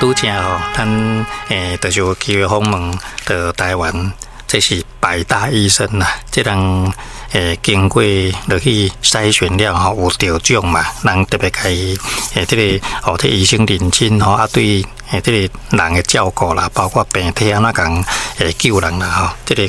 拄才吼，咱就是有機會訪問到台灣，這是百大醫生啦。這人經過落去篩選了吼，有得獎嘛，人特別共伊這个哦，這醫生認真吼，啊對這個人的照顧啦，包括病體按怎共救人啦吼，這个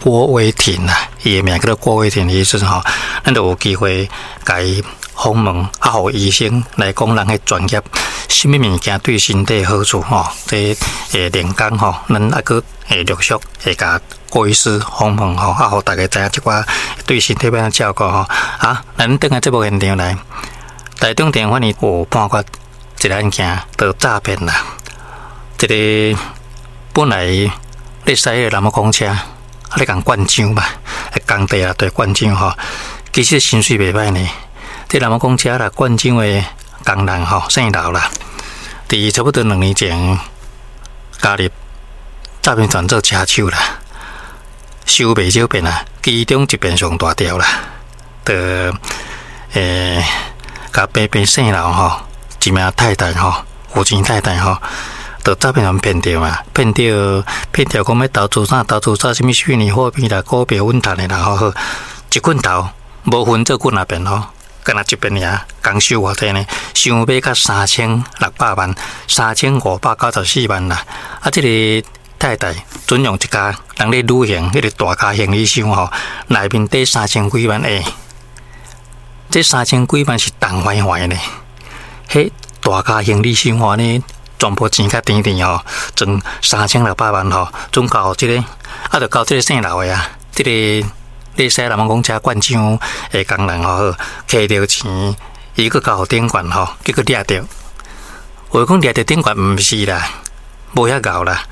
郭威廷啦，伊的名叫做郭威廷醫生吼，咱就有機會共伊訪問，啊，予醫生來講人的專業，啥物物件對身體好處吼，這練功吼，咱猶閣會陸續會共郭醫師訪問吼，啊，予大家知影這寡對身體欲按怎照顧吼。啊，咱轉來節目現場來，台中地法院有判決一個案件，就詐騙啦。這个本來咧駛个南無公車，啊咧共灌漿嘛，工地啊對灌漿吼，其實薪水袂歹呢。這南無公車啦，灌漿的工人吼，姓劉啦，佇差不多2年前加入詐騙團做車手啦，收袂少騙啊，其中一邊上大條啦，就共白白姓劉吼，一名太太吼，有錢太太吼，就詐騙團騙著嘛，騙著騙著講欲投資啥，投資啥，啥物虛擬貨幣啦、股票穩賺的啦，吼好，一棍頭無分做幾若遍吼。干焦一遍爾，共收偌濟呢？想欲較3600萬，3594萬啦。啊，這個太太準用一家人咧旅行，彼个大咖行李箱吼，內面底三千幾萬欸，這三千幾萬是重壞壞呢。彼大咖行李箱吼，按呢全部錢較甜甜吼，裝3600萬吼，準交予這个，啊，就交這个姓劉的啊，這个。咧駛南方公車灌漿的工人吼，摕著錢，伊閣交予頂懸吼，結果掠著。話講掠著頂懸毋是啦，無遐𠢕啦。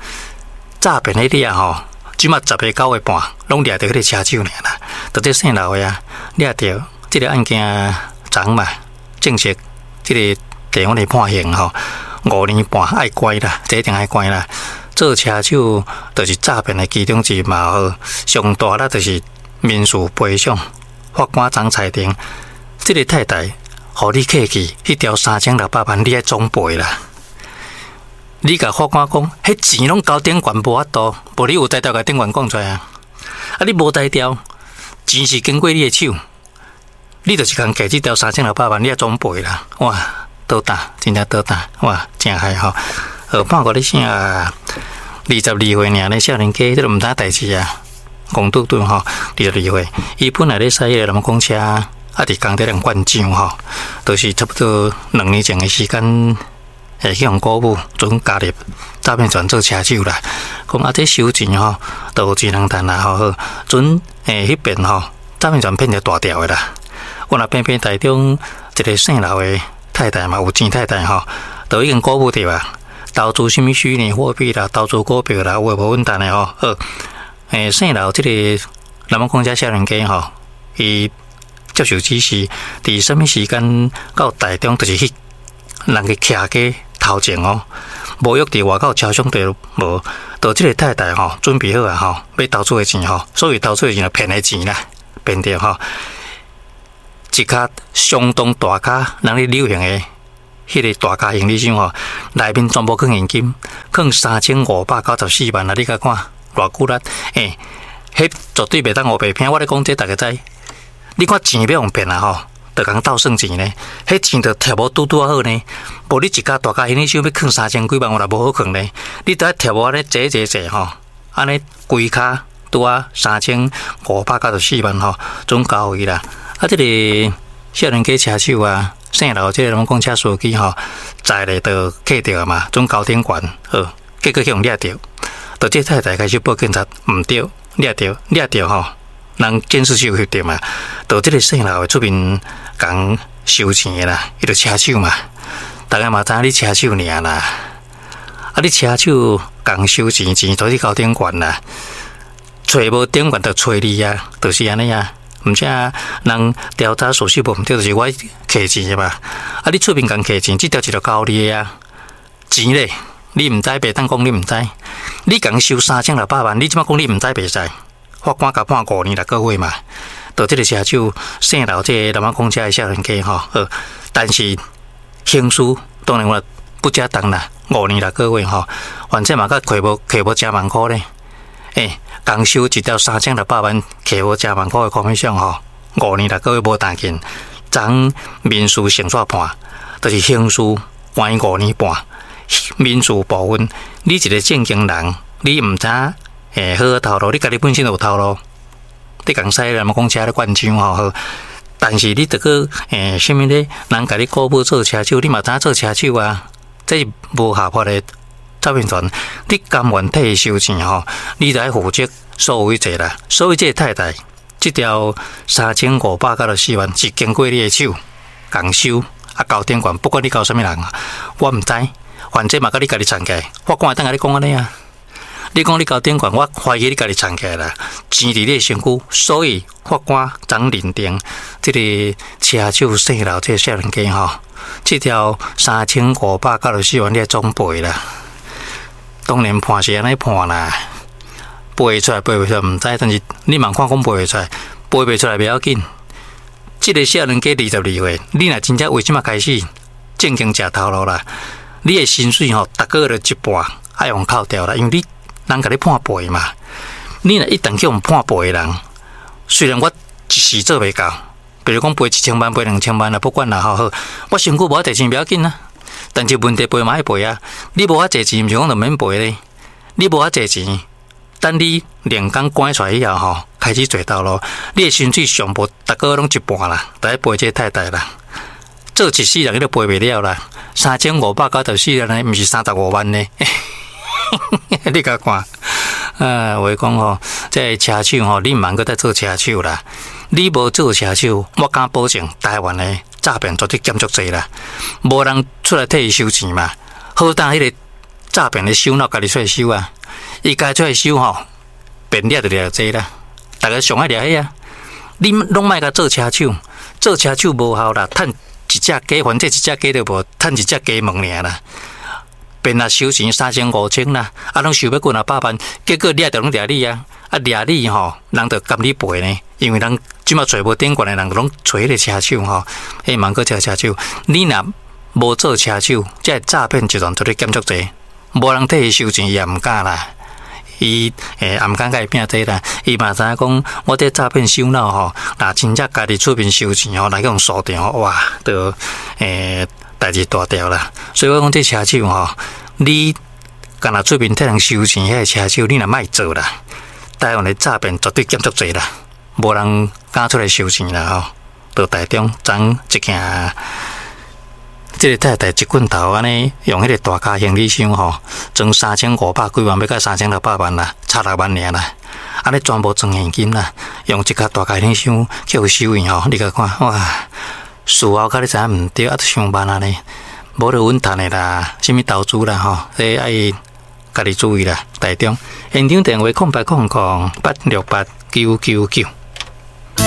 詐騙彼掠吼，這馬十个九個半，攏掠著彼個車手爾啦。就這姓劉的啊，掠著這个案件昨嘛，正式這個地方咧判刑吼，5年半愛關啦，這一定愛關啦。做車手就是詐騙的其中之一嘛好，上大啦就是。民事賠償，法官昨裁定，這个太太，予你客氣，彼條3600萬你愛總賠啦。你共法官講，彼錢攏交頂懸無法度，無你有才調共頂懸講出來啊？啊，你無才調，錢是經過你的手，你就是共計這條3600萬，你愛總賠啦。哇，倒膽，真正倒膽，哇，誠害吼。判決你啥？22歲爾咧少年家，這都毋知代誌啊。戇拄拄吼，22歲，伊本來咧駛彼個南公車，啊，佇工地咧灌漿吼，就是差不多2年前的時間，會去予鼓舞，準加入詐騙團做車手啦。講啊，這收錢吼，都有錢通趁啦吼，好，準彼邊吼，詐騙團騙著大條的啦。我若偏偏台中一个姓劉的太太嘛，有錢太太吼，都已經鼓舞著啊，投資啥物虛擬貨幣啦，投資股票啦，有的無穩當的吼，好。姓劉這个南方公車少年家吼，伊接受指示，佇啥物時間到台中，就是去人家徛街頭前哦，無約佇外口車廂底無，就這个太太吼，準備好啊吼，欲投資的錢吼，所謂投資的錢，騙的錢啦，騙著吼，一卡相當大卡，人咧旅行的彼个大卡行李箱吼，內面全部囥現金，囥3594萬啊！你共看。偌久力，欸，彼絕對袂當烏白騙。我咧講這，逐家知。你看錢欲予騙啊吼，就共鬥算錢呢。彼錢就貼無拄拄仔好呢。無你一家大家行李箱欲囥三千幾萬，有若無好囥呢。你著愛貼無按呢坐坐坐吼，按呢規跤拄仔3594萬吼，總交予伊啦。啊，這个少年家車手啊，姓劉這个攏講車司機吼，載咧就客著嘛，總交頂懸好，結果去予掠著。就這太太開始報警察，毋對，掠著掠著吼，人監視器有翕著嘛。就這个姓劉的出面共收錢的啦，伊就車手嘛，逐家嘛知影你車手爾啦。啊，你車手共收錢，錢都去交頂懸啦，揣無頂懸就揣你啊，就是按呢啊。毋且人調查屬實無毋對，就是我摕錢的嘛。啊，你出面共摕錢，這條錢就交你的啊，錢咧。你毋知，袂當講你毋知。你共收3600萬，你這馬講你毋知袂使。法官共判5年6個月嘛。就這个車手姓劉，這个南方公車的少年家吼，好。但是刑事當然我不加當啦，5年6個月吼，反正嘛，閣挵無挵無誠萬箍咧。欸，共收一條3600萬，挵無誠萬箍的 commission 吼，5年6個月無彈緊，昨民事先煞判，就是刑事關5年半，民事部分，你一個正經人，你毋知欸好好頭路，你家己本身就有頭路，你共使人講車咧灌槍吼好。但是你著閣欸，啥物咧？人共你雇無做車手，你嘛知影做車手啊？這是無合法的詐騙團，你甘願替伊收錢吼，你著愛負責所有一切啦。所以這个太太，這條3594萬是經過你的手共收啊，交頂懸，不管你交啥物人，我毋知，反正嘛，佮你家己藏起來。法官會當共你講按呢啊？你講你交頂懸，我懷疑你家己藏起來啦，錢佇你的身軀，所以法官昨認定這个車手姓劉這个少年家吼，這條3594萬你愛總賠啦。當然判是按呢判啦，賠出來賠袂出來毋知，但是你嘛看講賠袂出來，賠袂出來袂要緊。這个少年家22歲，你若真正為這馬開始正經食頭路啦，你的薪水吼，逐個月就一半愛予扣掉啦，因為你人共你判賠嘛，你若一旦去予判賠的人，雖然我一時做袂到，比如講賠1000萬、賠2000萬啦，不管啦，吼好，我身軀無遐濟錢袂要緊啊，但是問題賠嘛愛賠啊，你無遐濟錢，毋是講就免賠咧，你無遐濟錢，等你兩工關出來以後吼，開始做頭路，你的薪水上無逐個月攏一半啦，就愛賠這個太太啦，做一世人你都賠袂了啦，3594萬呢，毋是35萬呢。你共看，話講吼，這个車手吼，你毋通閣再做車手啦。你無做車手，我敢保證，台灣的詐騙絕對減足濟啦。無人出來替伊收錢嘛。好膽彼个詐騙的首腦家己出來收啊，伊家己出來收吼，變掠就掠濟啦。逐个上愛掠彼啊，你攏莫共做車手，做車手無效啦，趁一隻雞，反正一隻雞都無，趁一隻雞毛爾啦。變來收錢三千五千啦，啊，攏收欲幾若百萬，結果掠著攏掠你啊！啊，掠你吼，人就甘你賠呢，因為人這馬揣無頂懸的人，攏揣彼个車手吼，彼茫閣這車手，你若無做車手，這个詐騙集團絕對減足濟，無人替伊收錢，伊也毋敢啦。伊欸也毋敢共伊拼這啦，伊嘛知影講，我這詐騙首腦吼，若真正家己出面收錢吼，來去予鎖定吼，哇，就欸代誌大條啦。所以我講這車手吼，你干焦出面替人收錢，彼个車手，你若莫做啦，台灣的詐騙絕對減足濟啦，無人敢出來收錢啦吼。到台中昨一件，這个太太一棍頭按呢，用彼个大卡行李箱吼，裝3500幾萬，欲到3600萬啦，差6萬爾啦，按呢全部裝現金啦，用一卡大卡行李箱去予收銀吼，你共看哇，事後較你知影毋對，啊，都傷慢啊呢。無就穩趁的啦，啥物投資啦吼，這愛家己注意啦。台中現場電話0800868999。